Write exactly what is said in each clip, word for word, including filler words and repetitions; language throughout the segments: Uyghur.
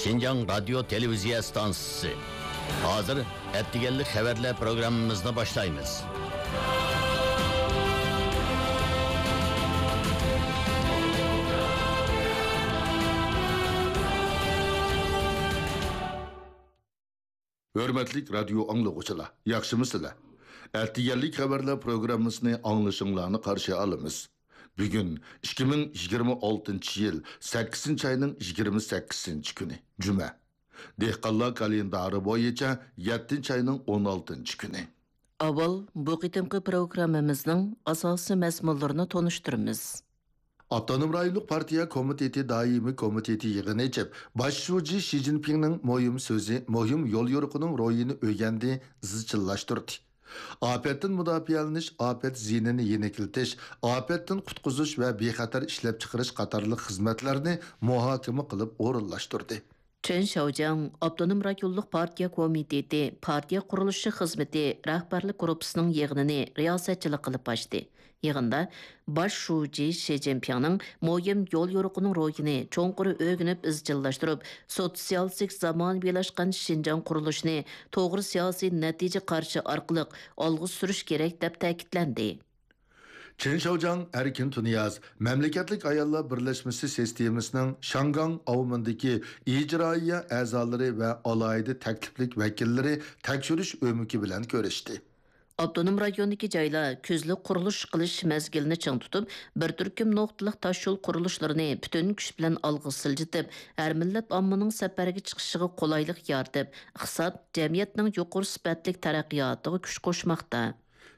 شىنجاڭ رادىيو تېلېۋىزىيە ئىستانسىسى. ھازىر ئەتىگەنلىك خەۋەرلەر پروگراممىمىزنى باشلايمىز. ھۆرمەتلىك رادىيو ئاڭلىغۇچىلار، ياخشىمۇسىلەر؟ ئەتىگەنلىك خەۋەرلەر پروگراممىسىنى ئاڭلىشىڭلارنى قارشى ئالىمىز. بۈگۈن ئىككى مىڭ يىگىرمە ئالتىنچى يىل سەككىزىنچى ئاينىڭ يىگىرمە سەككىزىنچى كۈنى، جۈمە. دېھقانلار كالېندارى بويىچە يەتتىنچى ئاينىڭ ئون ئالتىنچى كۈنى. ئاۋۋال بۇ قېتىمقى پروگراممىمىزنىڭ ئاساسىي مەزمۇنلىرىنى تونۇشتۇرىمىز. ئاپتونوم رايونلۇق پارتىيە كومىتېتى دائىمىي كومىتېتى يىغىن ئېچىپ، باش شۇجى شى جىنپىڭنىڭ مۇھىم سۆزى، مۇھىم يوليورۇقىنىڭ روھىنى ئۆگەندى، ئىزچىللاشتۇردى. ئاپەتتىن مۇداپىئەلىنىش، ئاپەت زىيىنىنى يېنىكلىتىش، ئاپەتتىن قۇتقۇزۇش ۋە بىخەتەر ئىشلەپچىقىرىش قاتارلىق خىزمەتلەرنى مۇھاكىمە قىلىپ ئورۇنلاشتۇردى. چېن شياۋجياڭ ئاپتونوم رايونلۇق پارتىيە كومىتېتى پارتىيە قۇرۇلۇشى خىزمىتى رەھبەرلىك گۇرۇپپىسىنىڭ يىغىنىنى رىياسەتچىلىك قىلىپ ئاچتى. يىغىندا باش شۇجى شى جىنپىڭنىڭ مۇھىم يوليورۇقىنىڭ روھىنى چوڭقۇر ئۆگىنىپ ئىزچىللاشتۇرۇپ، سوتسىيالىستىك زامانىۋىلاشقان شىنجاڭ قۇرۇلۇشىنى توغرا سىياسىي نەتىجە قارىشى ئارقىلىق ئالغا سۈرۈش كېرەك، دەپ تەكىتلەندى. چېن شياۋجياڭ ئەركىن تۇنىياز مەملىكەتلىك ئاياللار بىرلەشمىسى سىستېمىسىنىڭ شياڭگاڭ ئاۋمېندىكى ئىجرائىيە ئەزالىرى ۋە ئالاھىدە تەكلىپلىك ۋەكىللىرى تەكشۈرۈش ئۆمىكى بىلەن كۆرۈشتى. ئاپتونوم رايوندىكى جايلار كۈزلۈك قۇرۇلۇش قىلىش مەزگىلىنى چىڭ تۇتۇپ، بىر تۈركۈم نۇقتىلىق تاشيول قۇرۇلۇشلىرىنى پۈتۈن كۈچ بىلەن ئالغا سىلجىتىپ، ھەر مىللەت ئاممىنىڭ سەپەرگە چىقىشىغا قولايلىق يارىتىپ، ئىقتىساد، جەمئىيەتنىڭ يۇقىرى سۈپەتلىك تەرەققىياتىغا كۈچ قوشماقتا.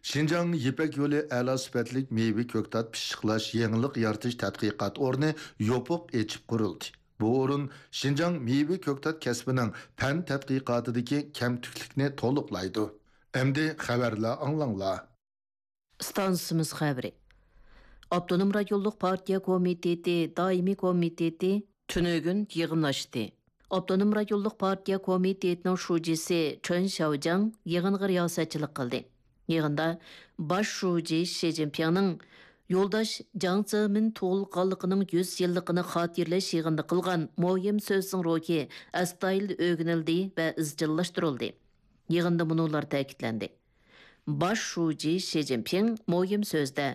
شىنجاڭ يىپەك يولى ئەلا سۈپەتلىك مېۋە كۆكتات پىششىقلاش يېڭىلىق يارىتىش تەتقىقات ئورنى يوپۇق ئېچىپ قۇرۇلدى. بۇ ئورۇن شىنجاڭ مېۋە كۆكتات كەسپىنىڭ پەن تەتقىقاتىدىكى كەمتۈكلۈكنى تولۇقلايدۇ. ئەمدى خەۋەرلەر ئاڭلاڭلار. ئىستانسىمىز خەۋىرى. ئاپتونوم رايونلۇق پارتىيە كومىتېتى دائىمىي كومىتېتى تۈنۈگۈن يىغىن ئاچتى. ئاپتونوم رايونلۇق پارتىيە كومىتېتىنىڭ شۇجىسى چېن شياۋجياڭ يىغىنغا رىياسەتچىلىك قىلدى. يىغىندا باش شۇجى شى جىنپىڭنىڭ يولداش جياڭ زېمىن تۇغۇلغانلىقىنىڭ يۈز يىللىقىنى خاتىرىلەش يىغىنىدا قىلغان مۇھىم سۆزىنىڭ روھى ئەستايىدىل ئۆگىنىلدى ۋە ئىزچىللاشتۇرۇلدى. يىغىندا مۇنۇلار تەكىتلەندى. باش شۇجى شى جىنپىڭ مۇھىم سۆزىدە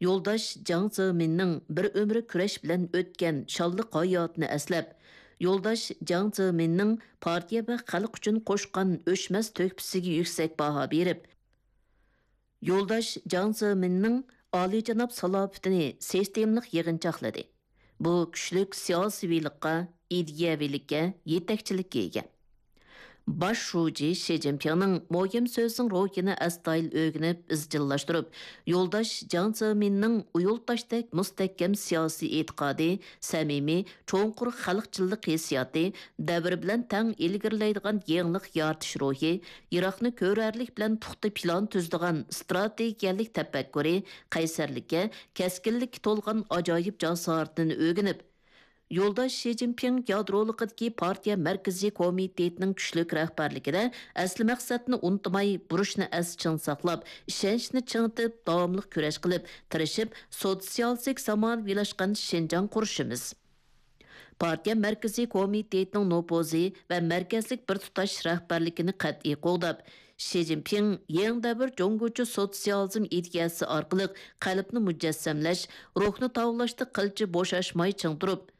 يولداش جياڭ زېمىننىڭ بىر ئۆمۈر كۈرەش بىلەن ئۆتكەن شانلىق ھاياتىنى ئەسلەپ، يولداش جياڭ زېمىننىڭ پارتىيە ۋە خەلق ئۈچۈن قوشقان ئۆچمەس تۆھپىسىگە يۈكسەك باھا بېرىپ، يولداش جياڭ زېمىننىڭ ئالىيجاناب سالاپىتىنى سىستېمىلىق يىغىنچاقلىدى. بۇ كۈچلۈك سىياسىيۋىلىققا، ئىدىيەۋىلىككە يېتەكچىلىككە ئىگە. باش شۇجى شى جىنپىڭنىڭ مۇھىم سۆزىنىڭ روھىنى ئەستايىدىل ئۆگىنىپ، ئىزچىللاشتۇرۇپ، يولداش جياڭ زېمىننىڭ ئۇيۇلتاشتەك مۇستەھكەم سىياسىي ئېتىقادى، سەمىمىي، چوڭقۇر خەلقچىللىق ھېسسىياتى، دەۋر بىلەن تەڭ ئىلگىرىلەيدىغان يېڭىلىق يارىتىش روھى، يىراقنى كۆرەرلىك بىلەن پۇختا پىلان تۈزىدىغان ئىستراتېگىيەلىك تەپەككۇرى، قەيسەرلىككە، كەسكىنلىككە تولغان ئاجايىپ جاسارىتىنى ئۆگىنىپ، يولداش شى جىنپىڭ يادرولۇقىدىكى پارتىيە مەركىزىي كومىتېتىنىڭ كۈچلۈك رەھبەرلىكىدە ئەسلى مەقسەتنى ئۇنتۇماي، بۇرچنى ئەستە چىڭ ساقلاپ، ئىشەنچنى چىڭىتىپ، داۋاملىق كۈرەش قىلىپ، تىرىشىپ، سوتسىيالىستىك زامانىۋىلاشقان شىنجاڭ قۇرۇشىمىز. پارتىيە مەركىزىي كومىتېتىنىڭ نوپۇزى ۋە مەركەزلىك بىر تۇتاش رەھبەرلىكىنى قەتئىي قوغداپ، شى جىنپىڭ يېڭى دەۋر جۇڭگوچە سوتسىيالىزم ئىدىيەسى ئارقىلىق قەلبنى مۇجەسسەملەش، روھنى تاۋلاشتا قىلچە بوشاشماي چىڭ تۇرۇپ،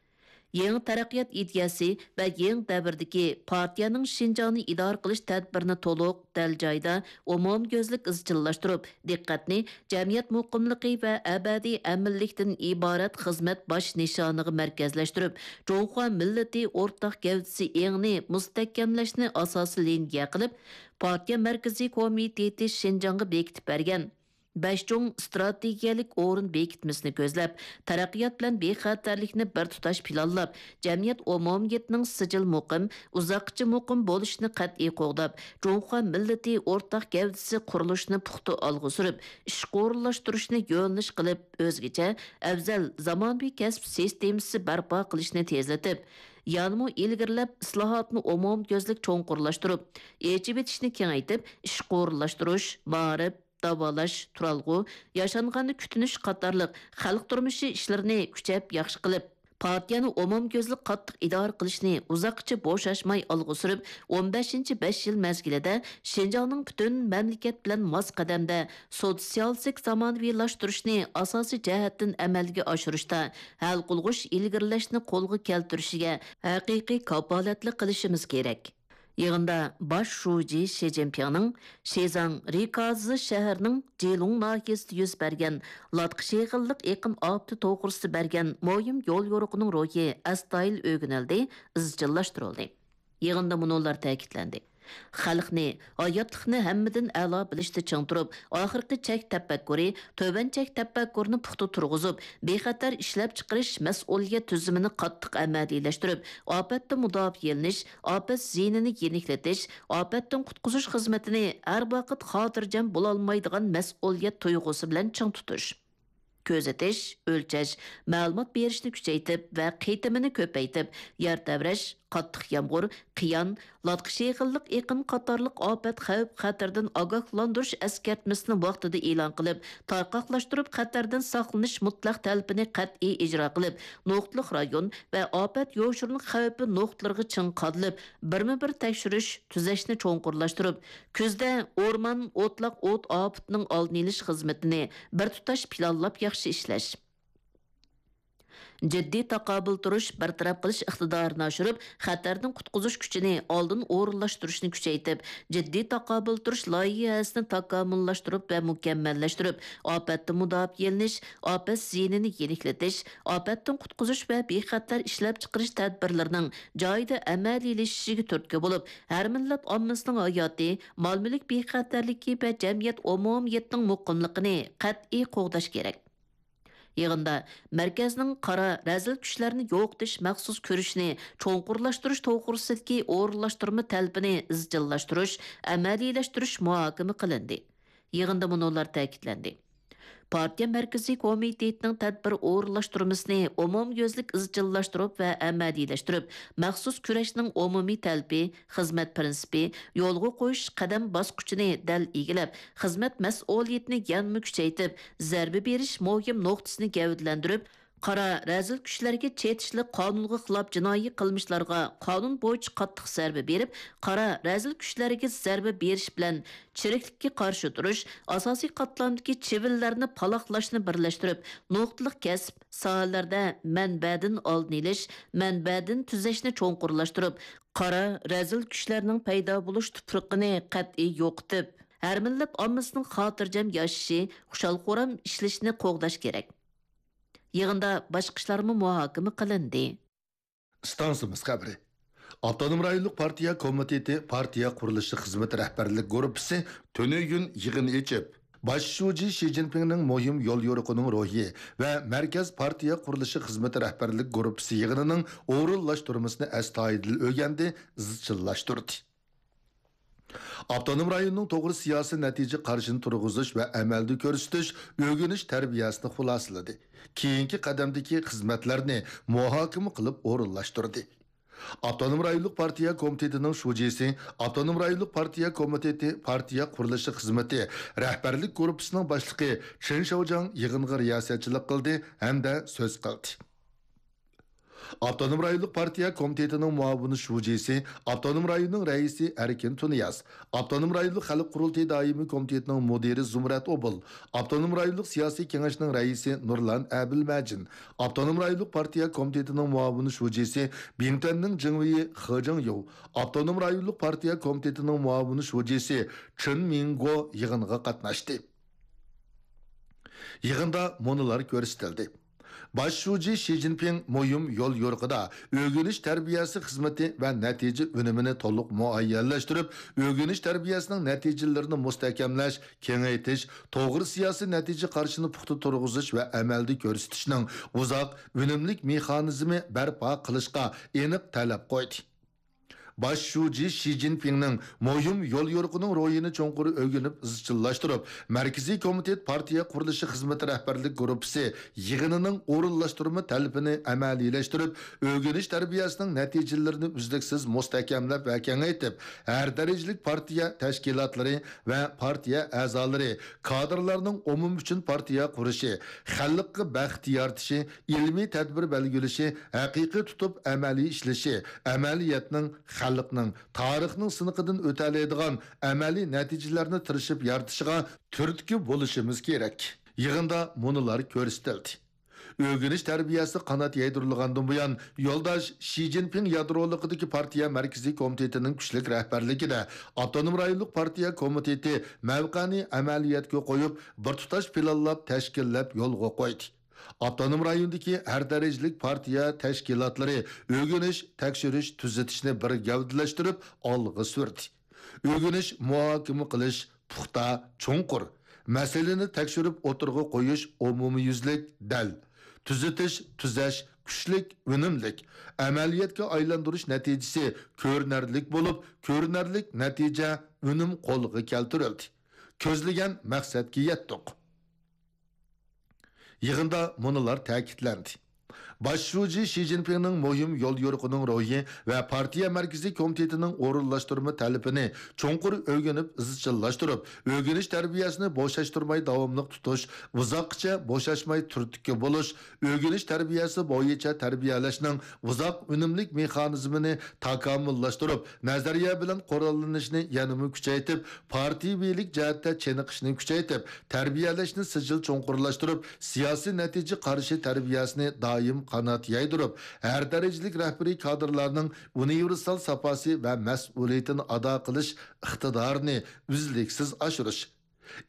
يېڭى تەرەققىيات ئىدىيەسى ۋە يېڭى دەۋردىكى پارتىيەنىڭ شىنجاڭنى ئىدارە قىلىش تەدبىرىنى تولۇق، دەل جايىدا، ئومۇميۈزلۈك ئىزچىللاشتۇرۇپ، دىققەتنى جەمئىيەت مۇقىملىقى ۋە ئەبەدىي ئەمىنلىكتىن ئىبارەت خىزمەت باش نىشانىغا مەركەزلەشتۈرۈپ، جۇڭخۇا مىللىتى ئورتاق گەۋدىسى ئېڭىنى مۇستەھكەملەشنى ئاساسىي لىنىيە قىلىپ، پارتىيە مەركىزىي كومىتېتى شىنجاڭغا بېكىتىپ بەرگەن بەش چوڭ ئىستراتېگىيەلىك ئورۇن بېكىتمىسىنى كۆزلەپ، تەرەققىيات بىلەن بىخەتەرلىكنى بىر تۇتاش پىلانلاپ، جەمئىيەت ئومۇمىيىتىنىڭ سىجىل مۇقىم، ئۇزاققىچە مۇقىم بولۇشىنى قەتئىي قوغداپ، جۇڭخۇا مىللىتى ئورتاق گەۋدىسى قۇرۇلۇشىنى پۇختا ئالغا سۈرۈپ، ئىشقا ئورۇنلاشتۇرۇشنى يۆنىلىش قىلىپ، ئۆزگىچە، ئەۋزەل زامانىۋى كەسىپ سىستېمىسى بەرپا قىلىشنى تېزلىتىپ، يەنىمۇ ئىلگىرىلەپ، ئىسلاھاتنى ئومۇميۈزلۈك چوڭقۇرلاشتۇرۇپ، ئېچىۋېتىشنى كېڭەيتىپ، ئىشقا ئورۇنلاشتۇرۇش، مائارىپ، داۋالاش، تۇرالغۇ، ياشانغاننى كۈتۈنۈش قاتارلىق خەلق تۇرمۇشى ئىشلىرىنى كۈچەپ ياخشى قىلىپ، پارتىيەنى ئومۇميۈزلۈك قاتتىق ئىدارە قىلىشنى ئۇزاققىچە بوشاشماي ئالغا سۈرۈپ، ئون بەشىنچى بەش يىل مەزگىلىدە شىنجاڭنىڭ پۈتۈن مەملىكەت بىلەن ماس قەدەمدە سوتسىيالىستىك زامانىۋىلاشتۇرۇشنى ئاساسىي جەھەتتىن ئەمەلگە ئاشۇرۇشتا ھەل قىلغۇچ ئىلگىرىلەشنى قولغا كەلتۈرۈشىگە ھەقىقىي كاپالەتلىك قىلىشىمىز كېرەك. يىغىندا باش شۇجى شى جىنپىڭنىڭ شىزاڭ رىكازى شەھىرىنىڭ جىلۇڭ ناھىيەسىدە يۈز بەرگەن لاتقا شېغىللىق ئېقىن ئاپىتى توغرىسىدا بەرگەن مۇھىم يول يورۇقىنىڭ روھى ئەستايىدىل ئۆگىنىلدى، ئىزچىللاشتۇرۇلدى. يىغىندا مۇنۇلار تەكىتلەندى: خەلقنى، ھاياتلىقنى ھەممىدىن ئەلا بىلىشتە چىڭ تۇرۇپ، ئاخىرقى چەك تەپەككۇرى، تۆۋەن چەك تەپەككۇرىنى پۇختا تۇرغۇزۇپ، بىخەتەر ئىشلەپچىقىرىش مەسئۇلىيەت تۈزۈمىنى قاتتىق ئەمەلىيلەشتۈرۈپ، ئاپەتتىن مۇداپىئەلىنىش، ئاپەت زىيىنىنى يېنىكلىتىش، ئاپەتتىن قۇتقۇزۇش خىزمىتىنى ھەر ۋاقىت خاتىرجەم بولالمايدىغان مەسئۇلىيەت تۇيغۇسى بىلەن چىڭ تۇتۇش. كۆزىتىش، ئۆلچەش، مەلۇمات بېرىشنى كۈچەيتىپ ۋە قېتىمىنى كۆپەيتىپ، يەر تەۋرەش، قاتتىق يامغۇر، قىيان، لاتقا شېغىللىق ئېقىن قاتارلىق ئاپەت خەۋپ خەتىرىدىن ئاگاھلاندۇرۇش ئەسكەرتمىسىنى ۋاقتىدا ئېلان قىلىپ، تارقاقلاشتۇرۇپ خەتەردىن ساقلىنىش مۇتلەق تەلىپىنى قەتئىي ئىجرا قىلىپ، نۇقتىلىق رايون ۋە ئاپەت يوشۇرۇن خەۋپى نۇقتىلىرىغا چىڭ قادىلىپ، بىرمۇبىر تەكشۈرۈش، تۈزەشنى چوڭقۇرلاشتۇرۇپ، كۈزدە ئورمان، ئوتلاق ئوت ئاپىتىنىڭ ئالدىنى ئېلىش خىزمىتىنى بىر تۇتاش پىلانلاپ ياخشى ئىشلەش. جىددىي تاقابىل تۇرۇش، بىر تەرەپ قىلىش ئىقتىدارىنى ئاشۇرۇپ، خەتەردىن قۇتقۇزۇش كۈچىنى ئالدىن ئورۇنلاشتۇرۇشنى كۈچەيتىپ، جىددىي تاقابىل تۇرۇش لايىھەسىنى تاكامۇللاشتۇرۇپ ۋە مۇكەممەللەشتۈرۈپ، ئاپەتتىن مۇداپىئەلىنىش، ئاپەت زىيىنىنى يېنىكلىتىش، ئاپەتتىن قۇتقۇزۇش ۋە بىخەتەر ئىشلەپچىقىرىش تەدبىرلىرىنىڭ جايىدا ئەمەلىيلىشىشىگە تۈرتكە بولۇپ، ھەر مىللەت ئاممىسىنىڭ ھاياتى، مال-مۈلۈك بىخەتەرلىكى ۋە جەمئىيەت ئومۇمىيىتىنىڭ مۇقىملىقىنى قەتئىي قوغداش كېرەك. يىغىندا مەركەزنىڭ قارا، رەزىل كۈچلەرنى يوقىتىش مەخسۇس كۈرىشىنى چوڭقۇرلاشتۇرۇش توغرىسىدىكى ئورۇنلاشتۇرما تەلىپىنى ئىزچىللاشتۇرۇش، ئەمەلىيلەشتۈرۈش مۇھاكىمە قىلىندى. يىغىندا مۇنۇلار تەكىتلەندى: پارتىيە مەركىزىي كومىتېتىنىڭ تەدبىر ئورۇنلاشتۇرمىسىنى ئومۇميۈزلۈك ئىزچىللاشتۇرۇپ ۋە ئەمەلىيلەشتۈرۈپ، مەخسۇس كۈرەشنىڭ ئومۇمىي تەلىپى، خىزمەت پىرىنسىپى، يولغا قويۇش قەدەم باسقۇچىنى دەل ئىگىلەپ، خىزمەت مەسئۇلىيىتىنى يەنىمۇ كۈچەيتىپ، زەربە بېرىش مۇھىم نۇقتىسىنى گەۋدىلەندۈرۈپ، قارا، رەزىل كۈچلەرگە چېتىشلىق قانۇنغا خىلاپ جىنايى قىلمىشلارغا قانۇن بويىچە قاتتىق زەربە بېرىپ، قارا، رەزىل كۈچلەرگە زەربە بېرىش بىلەن چىرىكلىككە قارشى تۇرۇش، ئاساسىي قاتلامدىكى چىۋىنلەرنى پالاقلاشنى بىرلەشتۈرۈپ، نۇقتىلىق كەسىپ، ساھەلەردە مەنبەدىن ئالدىنى ئېلىش، مەنبەدىن تۈزەشنى چوڭقۇرلاشتۇرۇپ، قارا، رەزىل كۈچلەرنىڭ پەيدا بولۇش تۇپرىقىنى قەتئىي يوقىتىپ، ھەر مىللەت ئاممىسىنىڭ خاتىرجەم ياشىشى، خۇشال-خۇرام ئىشلىشىنى قوغداش كېرەك. يىغىندا باشقا ئىشلارمۇ مۇھاكىمە قىلىندى. ئىستانسىمىز خەۋىرى. ئاپتونوم رايونلۇق پارتىيە كومىتېتى پارتىيە قۇرۇلۇشى خىزمىتى رەھبەرلىك گۇرۇپپىسى تۈنۈگۈن يىغىن ئېچىپ، باش شۇجى شى جىنپىڭنىڭ مۇھىم يول يورۇقىنىڭ روھى ۋە مەركەز پارتىيە قۇرۇلۇشى خىزمىتى رەھبەرلىك گۇرۇپپىسى يىغىنىنىڭ ئورۇنلاشتۇرمىسىنى ئەستايىدىل ئۆگەندى، ئىزچىللاشتۇردى. ئاپتونوم رايوننىڭ توغرا سىياسىي نەتىجە قارىشىنى تۇرغۇزۇش ۋە ئەمەلدە كۆرسىتىش، ئۆگىنىش تەربىيەسىنى خۇلاسىلىدى. كېيىنكى قەدەمدىكى خىزمەتلەرنى مۇھاكىمە قىلىپ ئورۇنلاشتۇردى. ئاپتونوم رايونلۇق پارتىيە كومىتېتىنىڭ شۇجىسى، ئاپتونوم رايونلۇق پارتىيە كومىتېتى پارتىيە قۇرۇلۇشى خىزمىتى رەھبەرلىك گۇرۇپپىسىنىڭ باشلىقى چېن شياۋجياڭ يىغىنغا رىياسەتچىلىك قىلدى ھەمدە سۆز قىلدى. ئاپتونوم رايونلۇق پارتىيە كومىتېتىنىڭ مۇئاۋىن شۇجىسى، ئاپتونوم رايوننىڭ رەئىسى ئەركىن تۇنىياز، ئاپتونوم رايونلۇق خەلق قۇرۇلتىيى دائىمىي كومىتېتىنىڭ مۇدىرى زۇمرەت ئوبۇل، ئاپتونوم رايونلۇق سىياسىي كېڭەشنىڭ رەئىسى نۇرلان ئەبىلمەجىن، ئاپتونوم رايونلۇق پارتىيە كومىتېتىنىڭ مۇئاۋىن شۇجىسى بىڭتۈەننىڭ جېڭۋېيى خې جېڭيۇ، ئاپتونوم رايونلۇق پارتىيە كومىتېتىنىڭ مۇئاۋىن شۇجىسى چېن مىڭگو يىغىنغا قاتناشتى. يىغىندا مۇنۇلار كۆرسىتىلدى. باش شۇجى شى جىنپىڭ مۇھىم يول يورۇقىدا ئۆگىنىش تەربىيەسى خىزمىتى ۋە نەتىجە ئۈنۈمىنى تولۇق مۇئەييەنلەشتۈرۈپ، ئۆگىنىش تەربىيەسىنىڭ نەتىجىلىرىنى مۇستەھكەملەش، كېڭەيتىش، توغرا سىياسىي نەتىجە قارىشىنى پۇختا تۇرغۇزۇش ۋە ئەمەلدە كۆرسىتىشنىڭ ئۇزاق، ئۈنۈملۈك مېخانىزمى بەرپا قىلىشقا ئېنىق تەلەپ قويدى. باش شۇجى شى جىنپىڭنىڭ مۇھىم يوليورۇقىنىڭ روھىنى چوڭقۇر ئۆگىنىپ ئىزچىللاشتۇرۇپ، مەركىزىي كومىتېت پارتىيە قۇرۇلۇشى خىزمىتى رەھبەرلىك گۇرۇپپىسى يىغىنىنىڭ ئورۇنلاشتۇرما تەلىپىنى ئەمەلىيلەشتۈرۈپ، ئۆگىنىش تەربىيەسىنىڭ نەتىجىلىرىنى ئۈزلۈكسىز مۇستەھكەملەپ ۋە كېڭەيتىپ، ھەر دەرىجىلىك پارتىيە تەشكىلاتلىرى ۋە پارتىيە ئەزالىرى، كادىرلارنىڭ ئومۇم ئۈچۈن پارتىيە قۇرۇشى، خەلققە بەخت يارىتىشى، ئىلمىي تەدبىر بەلگىلىشى، ھەقىقىي تۇتۇپ ئەمەلىي ئىشلىشى، ئەمەلىيەتنىڭ، خەلقنىڭ، تارىخنىڭ سىنىقىدىن ئۆتەلەيدىغان ئەمەلىي نەتىجىلەرنى تىرىشىپ يارىتىشىغا تۈرتكە بولۇشىمىز كېرەك. يىغىندا مۇنۇلار كۆرسىتىلدى. ئۆگىنىش تەربىيەسى قانات يايدۇرۇلغاندىن بۇيان، يولداش شى جىنپىڭ يادرولۇقىدىكى پارتىيە مەركىزىي كومىتېتىنىڭ كۈچلۈك رەھبەرلىكىدە ئاپتونوم رايونلۇق پارتىيە كومىتېتى مەۋقەنى ئەمەلىيەتكە قويۇپ، بىر تۇتاش پىلانلاپ، تەشكىللەپ يولغا قويدى. ئاپتونوم رايوندىكى ھەر دەرىجىلىك پارتىيە تەشكىلاتلىرى ئۆگىنىش، تەكشۈرۈش، تۈزىتىشنى بىر گەۋدىلەشتۈرۈپ ئالغا سۈردى. ئۆگىنىش، مۇھاكىمە قىلىش، پۇختا، چوڭقۇر. مەسىلىنى تەكشۈرۈپ ئوتتۇرىغا قويۇش، ئومۇميۈزلۈك، دەل. تۈزىتىش، تۈزەش، كۈچلۈك، ئۈنۈملۈك. ئەمەلىيەتكە ئايلاندۇرۇش نەتىجىسى كۆرۈنەرلىك بولۇپ، كۆرۈنەرلىك نەتىجە، ئۈنۈم قولغا كەلتۈرۈلدى. كۆزلىگەن مەقسەتكە يەتتۇق. يىغىندا مۇنۇلار تەكىتلەندى. باش شۇجى شى جىنپىڭنىڭ مۇھىم يوليورۇقىنىڭ روھى ۋە پارتىيە مەركىزىي كومىتېتىنىڭ ئورۇنلاشتۇرما تەلىپىنى چوڭقۇر ئۆگىنىپ ئىزچىللاشتۇرۇپ، ئۆگىنىش تەربىيەسىنى بوشاشتۇرماي داۋاملىق تۇتۇش، ئۇزاققىچە بوشاشماي تۈرتكە بولۇش، ئۆگىنىش تەربىيەسى بويىچە تەربىيەلەشنىڭ ئۇزاق ئۈنۈملۈك مېخانىزمىنى تاكامۇللاشتۇرۇپ، نەزەرىيە بىلەن قوراللىنىشنى يەنىمۇ كۈچەيتىپ، پارتىيىۋىلىك جەھەتتە چېنىقىشنى كۈچەيتىپ، تەربىيەلەشنى سىجىل چوڭقۇرلاشتۇرۇپ، سىياسىي نەتىجە قارىشى تەربىيەسىنى دائىم قانات يايدۇرۇپ، ھەر دەرىجىلىك رەھبىرىي كادىرلارنىڭ ئۇنىۋېرسال ساپاسى ۋە مەسئۇلىيىتىنى ئادا قىلىش ئىقتىدارىنى ئۈزلۈكسىز ئاشۇرۇش،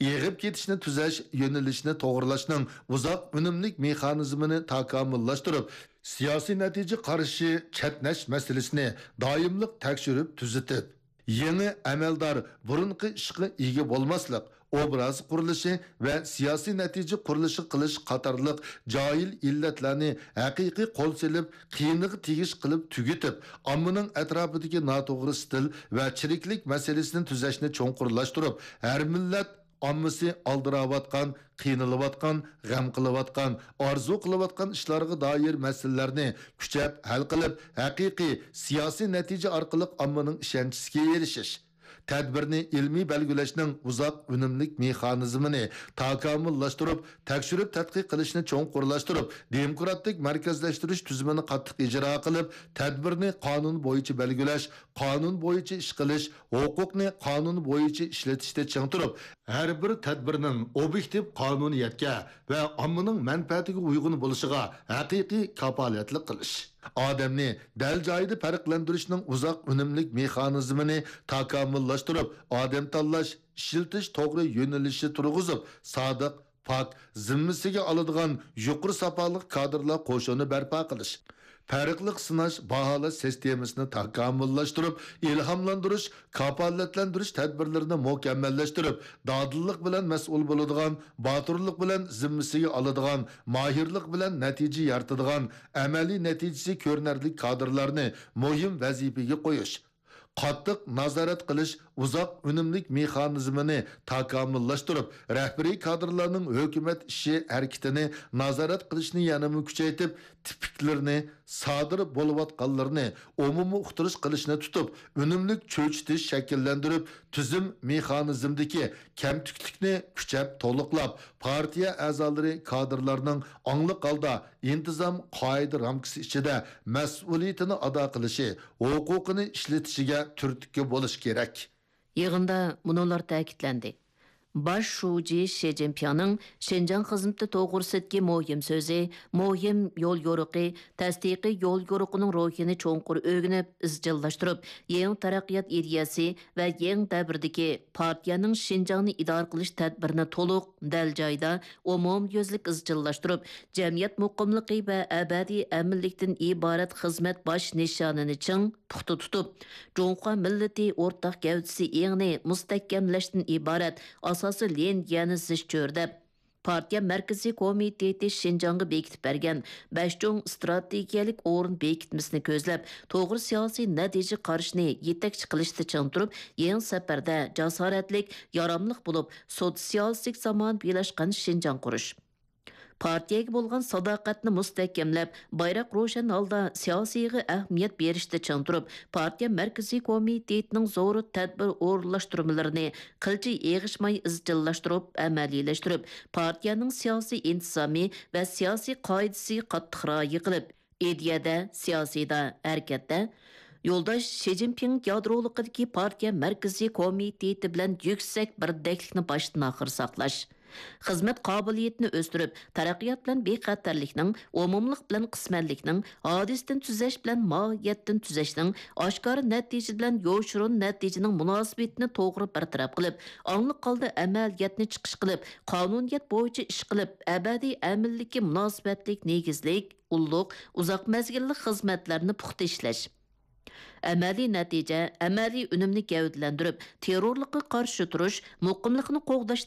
ئېغىپ كېتىشنى تۈزەش، يۆنىلىشنى توغرىلاشنىڭ ئۇزاق ئۈنۈملۈك مېخانىزمىنى تاكامۇللاشتۇرۇپ، سىياسىي نەتىجە قارىشى چەتنەش مەسىلىسىنى دائىملىق تەكشۈرۈپ تۈزىتىپ، يېڭى ئەمەلدار بۇرۇنقى ئىشقا ئىگە بولماسلىق، ئوبراز قۇرۇلۇشى ۋە سىياسىي نەتىجە قۇرۇلۇشى قىلىش قاتارلىق جاھىل ئىللەتلەرنى ھەقىقىي قول سېلىپ، قىيىنىغا تېگىش قىلىپ تۈگىتىپ، ئاممىنىڭ ئەتراپىدىكى ناتوغرا ئىستىل ۋە چىرىكلىك مەسىلىسىنى تۈزەشنى چوڭقۇرلاشتۇرۇپ، ھەر مىللەت ئاممىسى ئالدىراۋاتقان، قىينىلىۋاتقان، غەم قىلىۋاتقان، ئارزۇ قىلىۋاتقان ئىشلارغا دائىر مەسىلىلەرنى كۈچەپ ھەل قىلىپ، ھەقىقىي سىياسىي نەتىجە ئارقىلىق ئاممىنىڭ ئىشەنچىسىگە ئېرىشىش. تەدبىرنى ئىلمىي بەلگىلەشنىڭ ئۇزاق ئۈنۈملۈك مېخانىزمىنى تاكامۇللاشتۇرۇپ، تەكشۈرۈپ تەتقىق قىلىشنى چوڭقۇرلاشتۇرۇپ، دېموكراتىك مەركەزلەشتۈرۈش تۈزۈمىنى قاتتىق ئىجرا قىلىپ، تەدبىرنى قانۇن بويىچە بەلگىلەش، قانۇن بويىچە ئىش قىلىش، ھوقۇقنى قانۇن بويىچە ئىشلىتىشتە چىڭ تۇرۇپ، ھەر بىر تەدبىرنىڭ ئوبيېكتىپ قانۇنىيەتكە ۋە ئاممىنىڭ مەنپەئەتىگە ئۇيغۇن بولۇشىغا ھەقىقىي كاپالەتلىك قىلىش. ئادەمنى دەل جايىدا پەرقلەندۈرۈشنىڭ ئۇزاق ئۈنۈملۈك مېخانىزمىنى تاكامۇللاشتۇرۇپ، ئادەم تاللاش، ئىشلىتىش توغرا يۆنىلىشى تۇرغۇزۇپ، سادىق، پاك، زىممىسىگە ئالىدىغان يۇقىرى ساپالىق كادىرلار قوشۇنى بەرپا قىلىش، پەرقلىق سىناش، باھالاش سىستېمىسىنى تاكامۇللاشتۇرۇپ، ئىلھاملاندۇرۇش، كاپالەتلەندۈرۈش تەدبىرلىرىنى مۇكەممەللەشتۈرۈپ، دادىللىق بىلەن مەسئۇل بولىدىغان، باتۇرلۇق بىلەن زىممىسىگە ئالىدىغان، ماھىرلىق بىلەن نەتىجە يارىتىدىغان، ئەمەلىي نەتىجىسى كۆرۈنەرلىك كادىرلارنى مۇھىم ۋەزىپىگە قويۇش، قاتتىق نازارەت قىلىش ئۇزاق ئۈنۈملۈك مېخانىزمىنى تاكامۇللاشتۇرۇپ، رەھبىرىي كادىرلارنىڭ ھۆكۈمەت ئىشى ھەرىكىتىنى نازارەت قىلىشنى يەنىمۇ كۈچەيتىپ، تىپىكلىرىنى، سادىر بولۇۋاتقانلىرىنى ئومۇمىي ئۇقتۇرۇش قىلىشنى تۇتۇپ، ئۈنۈملۈك چۆچۈتۈش شەكىللەندۈرۈپ، تۈزۈم مېخانىزمىدىكى كەمتۈكلۈكنى كۈچەپ تولۇقلاپ، پارتىيە ئەزالىرى، كادىرلارنىڭ ئاڭلىق ھالدا ئىنتىزام قائىدە رامكىسى ئىچىدە مەسئۇلىيىتىنى ئادا قىلىشى، ھوقۇقىنى ئىشلىتىشىگە تۈرتكە بولۇش كېرەك. يىغىندا مۇنۇلار تەكىتلەندى. باش شۇجى شى جىنپىڭنىڭ شىنجاڭ خىزمىتى توغرىسىدىكى مۇھىم سۆزى، مۇھىم يول يورۇقى، تەستىقىي يول يورۇقىنىڭ روھىنى چوڭقۇر ئۆگىنىپ، ئىزچىللاشتۇرۇپ، يېڭى تەرەققىيات ئىدىيەسى ۋە يېڭى دەۋردىكى پارتىيەنىڭ شىنجاڭنى ئىدارە قىلىش تەدبىرىنى تولۇق، دەل جايىدا، ئومۇميۈزلۈك ئىزچىللاشتۇرۇپ، جەمئىيەت مۇقىملىقى ۋە ئەبەدىي ئەمىنلىكتىن ئىبارەت خىزمەت باش نىشانىنى چىڭ، پۇختا تۇتۇپ، جۇڭخۇا مىللىتى ئورتاق گەۋدىسى ئېڭىنى مۇستەھكەملەشتىن ئىبارەت ئاساسىي لىنىيەنى زىچ چۆرىدەپ، پارتىيە مەركىزىي كومىتېتى شىنجاڭغا بېكىتىپ بەرگەن بەش چوڭ ئىستراتېگىيەلىك ئورۇن بېكىتمىسىنى كۆزلەپ، توغرا سىياسىي نەتىجە قارىشىنى يېتەكچى قىلىشتا چىڭ تۇرۇپ، يېڭى سەپەردە جاسارەتلىك، ياراملىق بولۇپ، سوتسىيالىستىك زامانىۋىلاشقان شىنجاڭ قۇرۇش. پارتىيەگە بولغان ساداقەتنى مۇستەھكەملەپ، بايراق روشەن ھالدا سىياسىيغا ئەھمىيەت بېرىشتە چىڭ تۇرۇپ، پارتىيە مەركىزىي كومىتېتىنىڭ زور تەدبىر ئورۇنلاشتۇرمىلىرىنى قىلچە ئېغىشماي ئىزچىللاشتۇرۇپ ئەمەلىيلەشتۈرۈپ، پارتىيەنىڭ سىياسىي ئىنتىزامى ۋە سىياسىي قائىدىسىگە قاتتىق رىئايە قىلىپ، ئىدىيەدە، سىياسىيدا، ھەرىكەتتە يولداش شى جىنپىڭ يادرولۇقىدىكى پارتىيە مەركىزىي كومىتېتى بىلەن يۈكسەك بىردەكلىكنى باشتىن ئاخىر ساقلاش. خىزمەت قابىلىيىتىنى ئۆستۈرۈپ، تەرەققىيات بىلەن بىخەتەرلىكنىڭ، ئومۇملۇق بىلەن قىسمەنلىكنىڭ، ھادىسىدىن تۈزەش بىلەن ماھىيەتتىن تۈزەشنىڭ، ئاشكارا نەتىجە بىلەن يوشۇرۇن نەتىجىنىڭ مۇناسىۋىتىنى توغرا بىر تەرەپ قىلىپ، ئاڭلىق ھالدا ئەمەلىيەتنى چىقىش قىلىپ، قانۇنىيەت بويىچە ئىش قىلىپ، ئەبەدىي ئەمىنلىككە مۇناسىۋەتلىك نېگىزلىك، ئۇللۇق، ئۇزاق مەزگىللىك خىزمەتلەرنى پۇختا ئىشلەش. ئەمەلىي نەتىجە، ئەمەلىي ئۈنۈمنى گەۋدىلەندۈرۈپ، تېررورلۇققا قارشى تۇرۇش، مۇقىملىقنى قوغداش